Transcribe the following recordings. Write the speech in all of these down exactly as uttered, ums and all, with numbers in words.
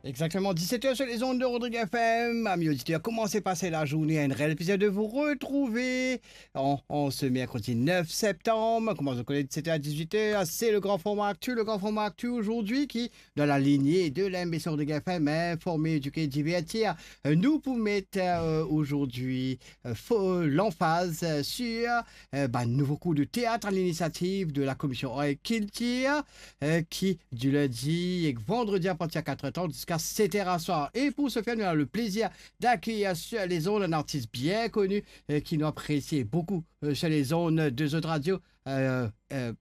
Exactement, dix-sept heures sur les ondes de Rodrigue F M. Amis auditeurs, comment s'est passée la journée? Un réel plaisir de vous retrouver en, en ce mercredi neuf septembre. Comme vous le connaissez, dix-sept heures à dix-huit heures, c'est le grand format actu. Le grand format actu aujourd'hui qui, dans la lignée de l'émission Rodrigue F M, informer, éduquer, divertir. Euh, nou pou met, euh, aujourd'hui, euh, fo-, l'emphase, euh, sur, euh, bann nouvo kour de théâtre à l'initiative de la Commission Art et Culture, euh, qui du lundi ek vandredi à partir de quatre heures trente jusqu'à sept heures à soir. Et pour ce faire, nous avons le plaisir d'accueillir sur les ondes un artiste bien connu, euh, qui nous apprécie beaucoup, euh, sur les ondes de Zot Radio, euh, euh,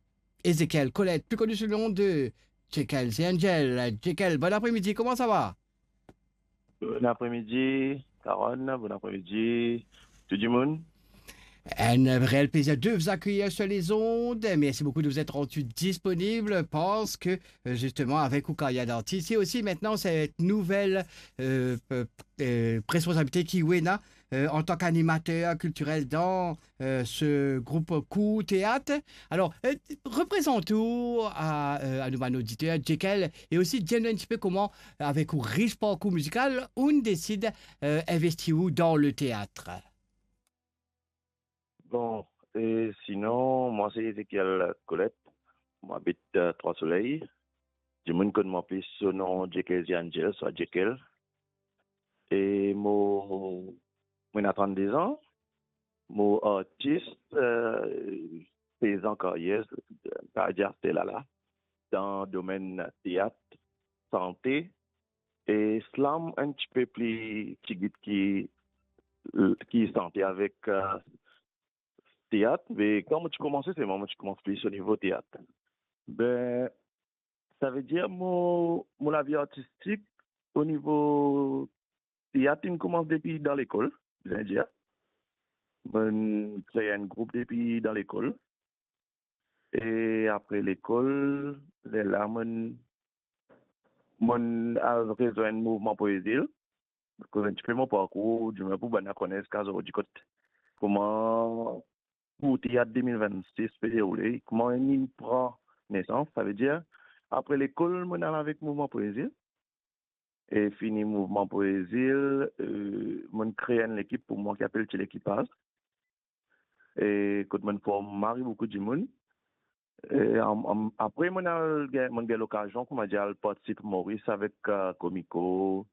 Ezekiel Colette, plus connu sous le nom de Jekyll the Angel. Jekyll, bon après-midi, comment ça va? Bon après-midi, Karon, bon après-midi, tout le monde. Un réel plaisir de vous accueillir sur les ondes. Merci beaucoup de vous être rendu disponible parce que, euh, justement, avec ou carrière d'artiste, et aussi maintenant cette nouvelle, euh, euh, euh, responsabilité ki ou ena, euh, en tant qu'animateur culturel dans, euh, ce groupe Kour Théâtre. Alors, euh, reprezant ou a, euh, a nou bann oditer, Jekyll, e osi dir nou un petit peu comment, avec ou rich parcours musical, ou desid, euh, investi ou dans le théâtre. Bon, e sinon, mwa se Ezekiel Colette. Mo abit, euh, Trois Soleils. Dimoun konn mwa plis sou nom Jekyll the Angel, swa Jekyll. E mo, mo ena trannde zan. Mo artis, euh, sez an karyer, pa dir aster la la, dan domenn teat, sante, e slam un petit peu pli tigit ki, ki sante avek, euh, teat, me kan mo ti koumanse, se mwa mo ti koumans plis o nivo teat. Be, savedir mo, mo lavi artistik o nivo teat, inn koumans depi dan lekol, bizin dir. Mo'nn kree enn group depi dan lekol. E apre lekol, lerla mo'nn, mo'nn al rezwenn Mouvman Poezil. Koz un petit peu mo parkour, dimoun pou bann la kone ziska zordi kot, kouma Kour Teat de mil vennsis pe deroule, kouma li pran nesans, savedir, apre lekol, mo'nn al avek Mouvman Poezil. E fini Mouvman Poezil, euh, mo'nn kree enn lekip pou mwa ki apel Ti Lekipaz. E kot mo'nn form mari boukou dimoun. E am-, am-, apre, mo'nn al gagn, mo'nn gagn lokazion, kouma dir, al partisip Moris avek, euh, Komiko.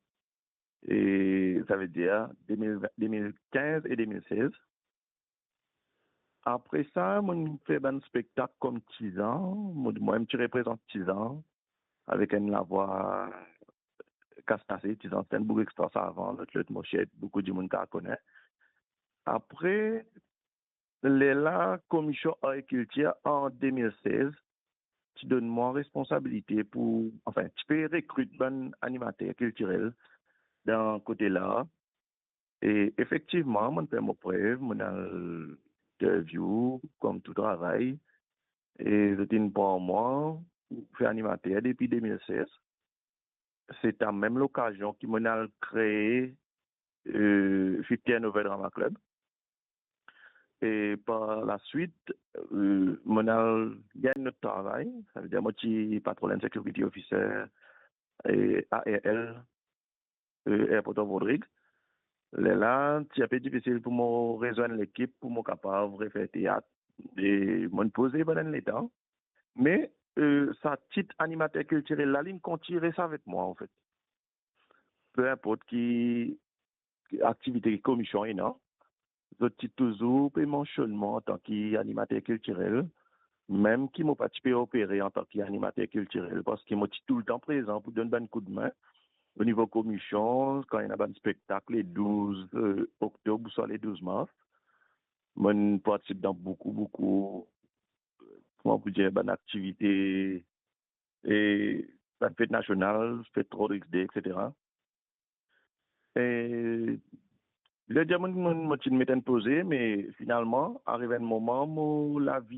E savedir, de mil, de mil kinz e de mil sez. Apre sa, mo'nn fer bann spektak kom Tizan. Mo, mo mem ti reprezant Tizan avek enn lavwa kas kase. Tizan se enn boug extra savan, lot, lot mo sir boukou dimoun kapav kone. Apre, lerla Komision Ar e Kiltir an de mil sez ti donn mwa responsabilite pou, anfin, ti pe rekrit bann animater kiltirel dan kote lar. E efektivman, mo'nn fer mo prev, mo'nn al interview kom tou travay, e zot inn pran mwa pou fer animater depi de mil sez. Se dan mem lokazion ki mo'nn al kree, euh, Fifty and Over Drama Club. E par laswit, euh, mo'nn al gagn enn lot travay, savedir mo ti Patrol and Security Officer, e A R L, euh, Airport of Rodrigues. Lerla, ti inpe difisil pou mo rezwenn lekip, pou mo kapav refer teat. E mo'nn poze pandan enn letan. Me, euh, sa tit animater kiltirel la, li'nn kontign res avek mwa, anfet. Pe inport ki, ki aktivite ki komision ena, zot ti touzour pe mansionn mwa antan ki animater kiltirel, mem ki mo pa ti pe opere antan ki animater kiltirel, parski mo ti toultan prezan pou donn bann koudme o nivo komision, kan ena bann spektak le douz, euh, oktob ouswa le douz mars, mo'nn partisip dan boukou, boukou, kouma pou dir, bann aktivite, e bann fet nasional, fet Rodrigues Day, et cetera. E, le dir, mo'nn, mo'nn, mo ti'nn met enn poze, me finalman, ariv enn moman, mo lavi